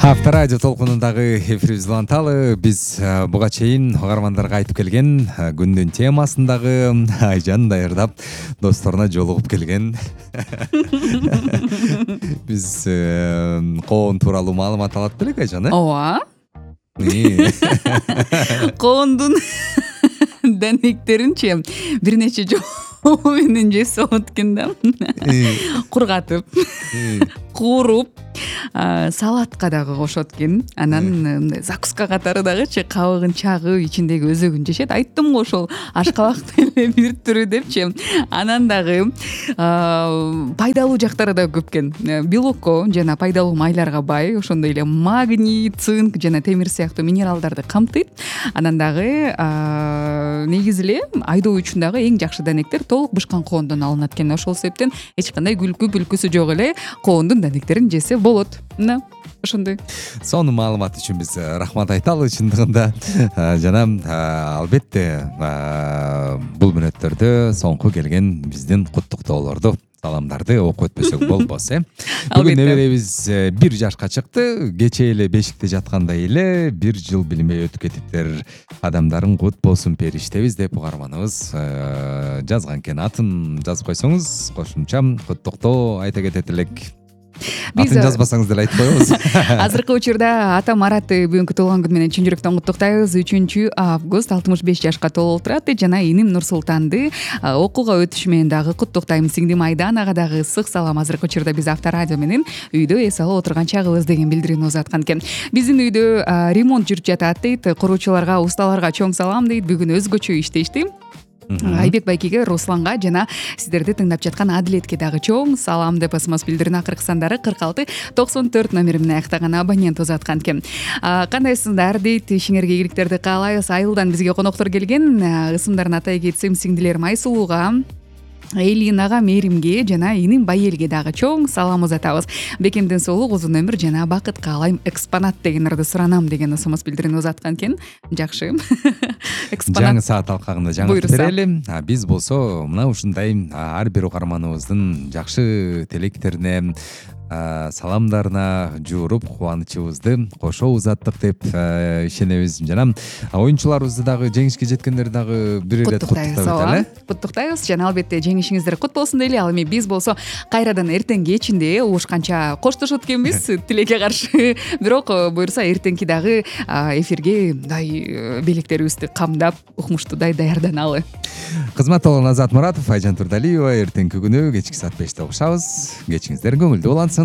Авторадио толкунундагы эфирибиз уланталы. Биз буга чейин угармандарга айтып келген күндүн темасындагы Айжан даярдап досторуна жолугуп келген биз коон тууралуу маалымат алат белек, Айжан? Ооба. Коондун данектеринчи бир нече жолу менен жесип алат экен да. Кургатып, кууруп, салатка дагы кошот экен. Анан мындай закуска катары дагычы кабыгын чагып, ичиндеги өзөгүн жешет. Айттым го ошол ашкабактын эле бир түрү депчи. Анан дагы пайдалуу жактары да көп экен. Белокко жана пайдалуу майларга бай, ошондой эле магний, цинк жана темир сыяктуу минералдарды камтыйт. Анан дагы негизи эле айдоо үчүн дагы эң жакшы данектер толук бышкан коондон алынат экен. Ошол себептен эч кандай бүлкүсү жок эле коондун данектерин жесе болот. Мына ошондой. Сонун маалымат үчүн биз рахмат айталы чындыгында. Жана албетте бул мүнөттөрдө соңку келген биздин куттуктоолорду, саламдарды окуп өтпөсөк болбос, Бүгүн неберебиз 1 жашка чыкты. Кечээ эле бешикте жаткандай эле 1 жыл билбей өтүп кетиптир. Адамдарың кут болсун периштебиз деп угарманыбыз жазган экен. Атын жазып койсоңуз кошумча куттуктоо айта кетет элек. Атын жазбасаңыз деле айтып коебуз. Азыркы учурда ата Маратты бүгүнкү туулган күнү менен чын жүрөктөн куттуктайбыз. 3 август 65 жашка толуп турат. Жана иним Нурсултанды окууга өтүшү менен дагы куттуктайм. Сиңдим Айданага дагы ысык салам. Азыркы учурда биз Авторадио менен үйдө эс алып отурган чагыбыз деген билдирүүнү узаткан экен. Биздин үйдө ремонт жүрүп жатат дейт. Куруучуларга, усталарга чоң салам дейт. Бүгүн өзгөчө иштешти. Айбек байкеге, Русланга жана сиздерди тыңдап жаткан Адилетке дагы чоң салам деп СМС билдирүүнүн акыркы сандары 46-94 номери менен аяктаган абонент узаткан экен. Кандайсыңдар дейт, ишиңерге ийгиликтерди каалайбыз. Айылдан бизге коноктор келген. Ысымдарын атай кетсем, сиңдилерим Айсулууга, Элинага, Меримге жана иним Байелге дагы чоң салам узатабыз. Бекемден соолук, узун өмүр жана бакыт каалайм. Экспонат деген ырды суранам деген СМС билдирүүнү узаткан экен. Жакшы. Жаңы саат алкагында жаңы берели. Биз болсо мына ушундай ар бир угарманыбыздын жакшы тилектерине, саламдарына жууруп кубанычыбызды кошо узаттык деп ишенебиз. Жана оюнчуларыбызды дагы жеңишке жеткендерди дагы бир эле куттуктайбыз. Куттуктайбыз жана албетте жеңишиңиздер кут болсун дейли. Ал эми биз болсо кайрадан эртең кечинде угушканча коштошот экенбиз тилекке каршы. Бирок буюрса эртеңки дагы эфирге мындай белектерибизди камдап, укмуштуудай даярданалы. Кызмат болгон Азат Муратов, Айжан Турдалиева. Эртеңки күнү кечки саат 5те угушабыз. Кечиңиздер көңүлдүү улансын.